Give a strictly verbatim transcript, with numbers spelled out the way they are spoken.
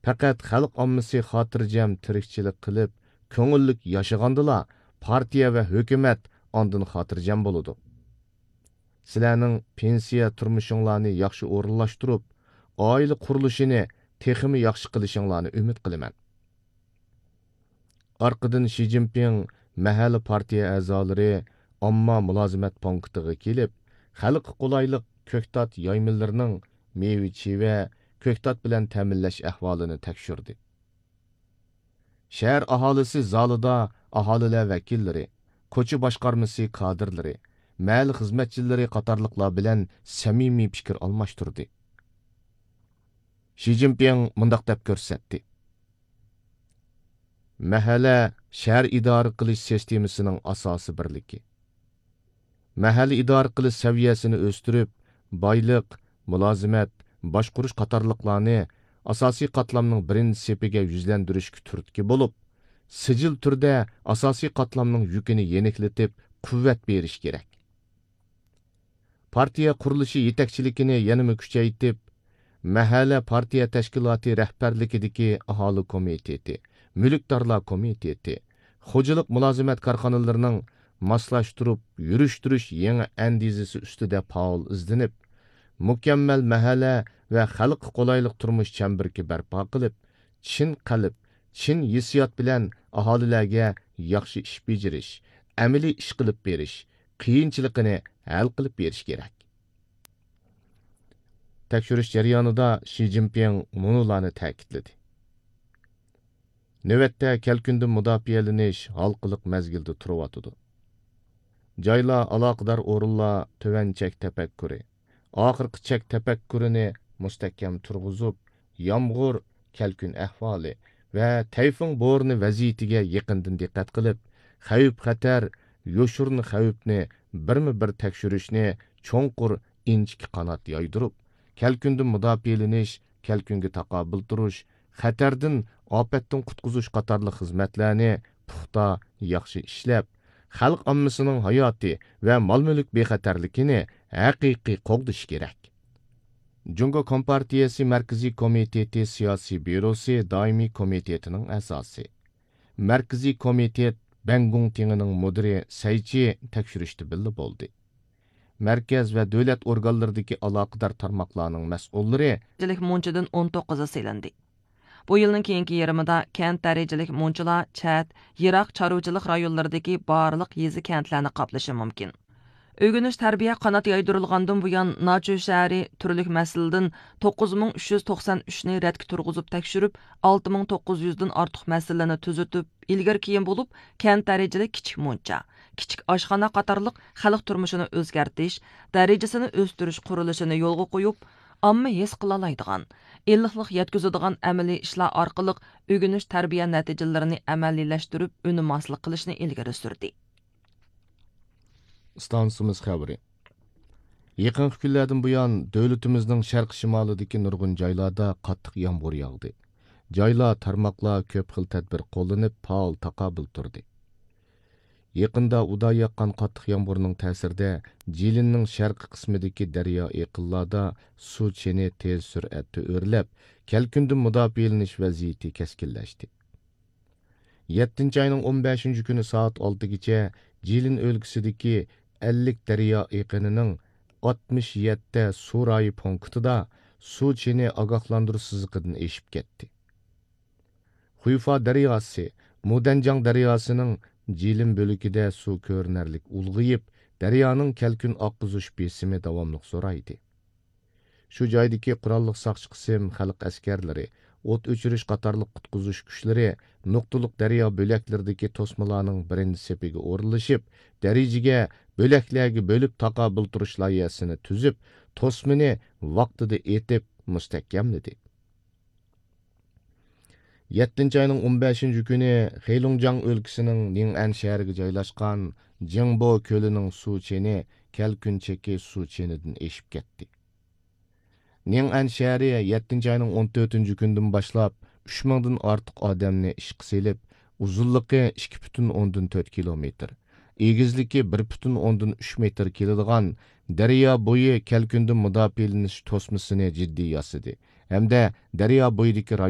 پەقەت خەلق ئاممىسى خاتىرجەم تىرىكچىلىك قىلىپ، كۆڭۈللۈك ياشىغاندىلا، پارتىيە ۋە ھۆكۈمەت ئاندىن خاتىرجەم بولىدۇ. سىلەرنىڭ پېنسىيە تۇرمۇشۇڭلارنى ياخشى ئورۇنلاشتۇرۇپ، ئائىلە قۇرۇلۇشىنى تېخىمۇ ياخشى قىلىشىڭلارنى ئۈمىد قىلىمەن. ئارقىدىن شى جىنپىڭ مەھەللە پارتىيە ئەزالىرى ئامما مۇلازىمەت پونكىتىغا كېلىپ، خەلققە قولايلىق كۆكتات يايمىلىرىنىڭ مېۋە-چىۋە، كۆكتات بىلەن تەمىنلەش ئەھۋالىنى تەكشۈردى. شەھەر ئاھالىسى زالىدا ئاھالىلەر ۋەكىللىرى، كوچا باشقارمىسى كادىرلىرى، مەھەللە خىزمەتچىلىرى قاتارلىقلار بىلەن سەمىمىي پىكىر ئالماشتۇردى. شى جىنپىڭ مۇنداق دەپ كۆرسەتتى: مەھەللە شەھەر ئىدارە قىلىش سىستېمىسىنىڭ ئاساسىي بىرلىكى. مەھەللە ئىدارە قىلىش سەۋىيەسىنى ئۆستۈرۈپ، بايلىق، مۇلازىمەت، باشقۇرۇش قاتارلىقلارنى ئاساسىي قاتلامنىڭ بىرىنچى سېپىگە يۈزلەندۈرۈشكە تۈرتكە بولۇپ، سىجىل تۈردە ئاساسىي قاتلامنىڭ يۈكىنى يېنىكلىتىپ، قۇۋۋەت بېرىش كېرەك. پارتىيە قۇرۇلۇشى يېتەكچىلىكىنى يەنىمۇ كۈچەيتىپ، مەھەللە پارتىيە تەشكىلاتى رەھبەرلىكىدىكى ئاھالە كومىتېتى، مۈلۈكدارلار كومىتېتى، خوجىلىق مۇلازىمەت كارخانىلىرىنىڭ ماسلاشتۇرۇپ يۈرۈشتۈرۈش يېڭى ئەندىزىسى ئۈستىدە پائال ئىزدىنىپ، مۇكەممەل مەھەللە ۋە خەلققە قولايلىق تۇرمۇش چەمبىرىكى بەرپا قىلىپ، چىن قەلب، چىن ھېسسىيات بىلەن ئاھالىلەرگە ياخشى ئىش بېجىرىش، ئەمەلىي ئىش قىلىپ بېرىش، قىيىنچىلىقىنى ھەل قىلىپ بېرىش كېرەك. تەكشۈرۈش جەريانىدا شى جىنپىڭ مۇنۇلارنى تەكىتلىدى: نۆۋەتتە كەلكۈندىن مۇداپىئەلىنىش ھالقىلىق مەزگىلدە تۇرۇۋاتىدۇ. جايلار، ئالاقىدار ئورۇنلار تۆۋەن چەك تەپەككۇرى، ئاخىرقى چەك تەپەككۇرىنى مۇستەھكەم تۇرغۇزۇپ، يامغۇر، كەلكۈن ئەھۋالى ۋە تەيفۇڭ بورىنى ۋەزىيىتىگە يېقىندىن دىققەت قىلىپ، خەۋپ-خەتەر، يوشۇرۇن خەۋپنى بىرمۇ بىر تەكشۈرۈشنى چوڭقۇر ئىنچىكە قانات يايدۇرۇپ، كەلكۈندىن مۇداپىئەلىنىش، كەلكۈنگە تاقابىل تۇرۇش، خەتەردىن، ئاپەتتىن قۇتقۇزۇش قاتارلىق خىزمەتلەرنى پۇختا، ياخشى ئىشلەپ، خەلق ئاممىسىنىڭ ھاياتى ۋە مال-مۈلۈك بىخەتەرلىكىنى ھەقىقىي قوغدىشى كېرەك. جۇڭگو كومپارتىيەسى مەركىزىي كومىتېتى سىياسىي بيۇروسى دائىمىي كومىتېتىنىڭ ئەزاسى، مەركىزىي كومىتېت بەڭگۇڭ تېڭىنىڭ مۇدىرى سەي چى تەكشۈرۈشتە بىللە بولدى. مەركەز ۋە دۆلەت ئورگانلىرىدىكى ئالاقىدار تارماقلارنىڭ مەسئۇللىرى، دەرىجىلىك مۇنچىدىن ئون توققۇزى سېلىندى. بۇ يىلنىڭ كېيىنكى يېرىمىدا كەنت دەرىجىلىك مۇنچىلار چەت، يىراق چارۋىچىلىق رايونلىرىدىكى بارلىق يېزا، كەنتلەرنى قاپلىشى مۇمكىن. ئۆگىنىش تەربىيە قانات يايدۇرۇلغاندىن بۇيان، ناچۈ شەھىرى تۈرلۈك مەسىلىدىن توققۇز مىڭ ئۈچ يۈز توقسان ئۈچنى رەتكە تۇرغۇزۇپ تەكشۈرۈپ، ئالتە مىڭ توققۇز يۈزدىن ئارتۇق مەسىلىنى تۈزىتىپ، ئىلگىرى كېيىن بولۇپ، كەنت دەرىجىلىك كىچىك مۇنچا، كىچىك ئاشخانا قاتارلىق خەلق تۇرمۇشىنى ئۆزگەرتىش، دەرىجىسىنى ئۆستۈرۈش قۇرۇلۇشىنى يولغا قويۇپ، ئامما ھېس قىلالايدىغان، ئىللىقلىق يەتكۈزىدىغان ئەمەلىي ئىشلار ئارقىلىق ئۆگىنىش تەربىيە نەتىجىلىرىنى ئەمەلىيلەشتۈرۈپ، ئۈنۈم ھاسىل قىلىشنى ئىلگىرى سۈردى. ئىستانسىمىز خەۋىرى. يېقىنقى كۈنلەردىن بۇيان، دۆلىتىمىزنىڭ شەرقىي شىمالىدىكى نۇرغۇن جايلاردا قاتتىق يامغۇر ياغدى. جايلار، تارماقلار كۆپ خىل تەدبىر قوللىنىپ، پائال تاقابىل تۇردى. يېقىندا ئۇدا ياغقان قاتتىق يامغۇرنىڭ تەسىرىدە، جىلىننىڭ شەرقىي قىسمىدىكى دەريا ئېقىنلاردا سۇ چېنى تېز سۈرئەتتە ئۆرلەپ، كەلكۈندىن مۇداپىئەلىنىش ۋەزىيىتى كەسكىنلەشتى. يەتتىنچى ئاينىڭ ئون بەشىنچى كۈنى سائەت ئالتىگىچە جىلىن ئۆلكىسىدىكى ئەللىك دەريا ئېقىنىنىڭ ئاتمىش يەتتە سۇ رايى پونكىتىدا سۇ چېنى ئاگاھلاندۇرۇش سىزىقىدىن ئېشىپ كەتتى. خۇيفا دەرياسى، مۇدەنجاڭ دەرياسىنىڭ جىلىن بۆلىكىدە سۇ كۆرۈنەرلىك ئۇلغىيىپ، دەريانىڭ كەلكۈن ئاققۇزۇش بېسىمى داۋاملىق زورايدى. شۇ جايدىكى قوراللىق ساقچى قىسىم، خەلق ئەسكەرلىرى، ئوت ئۆچۈرۈش قاتارلىق قۇتقۇزۇش كۈچلىرى نۇقتىلىق دەريا بۆلەكلىرىدىكى توسمىلارنىڭ بىرىنچى سېپىگە ئورۇنلىشىپ، دەرىجىگە، بۆلەكلەرگە بۆلۈپ تاقابىل تۇرۇش لايىھەسىنى تۈزۈپ، توسمىنى ۋاقتىدا ئېتىپ مۇستەھكەملىدى. يەتتىنچى ئاينىڭ ئون بەشىنچى كۈنى خېلۇڭجاڭ ئۆلكىسىنىڭ نىڭئەن شەھىرىگە جايلاشقان جىڭبو كۆلىنىڭ سۇ چېنى كەلكۈن چېكى سۇ چېنىدىن ئېشىپ كەتتى. نىڭئەن شەھىرى يەتتىنچى ئاينىڭ ئون تۆتىنچى كۈنىدىن باشلاپ ئۈچ مىڭدىن ئارتۇق ئادەمنى ئىشقا سېلىپ، ئۇزۇنلۇقى ئىككى پۈتۈن ئوندىن تۆت كىلومېتىر، ئېگىزلىكى بىر پۈتۈن ئوندىن ئۈچ مېتىر كېلىدىغان دەريا بويى كەلكۈندىن مۇداپىئەلىنىش توسمىسىنى جىددىي ياسىدى ھەمدە دەريا بويىدىكى رايون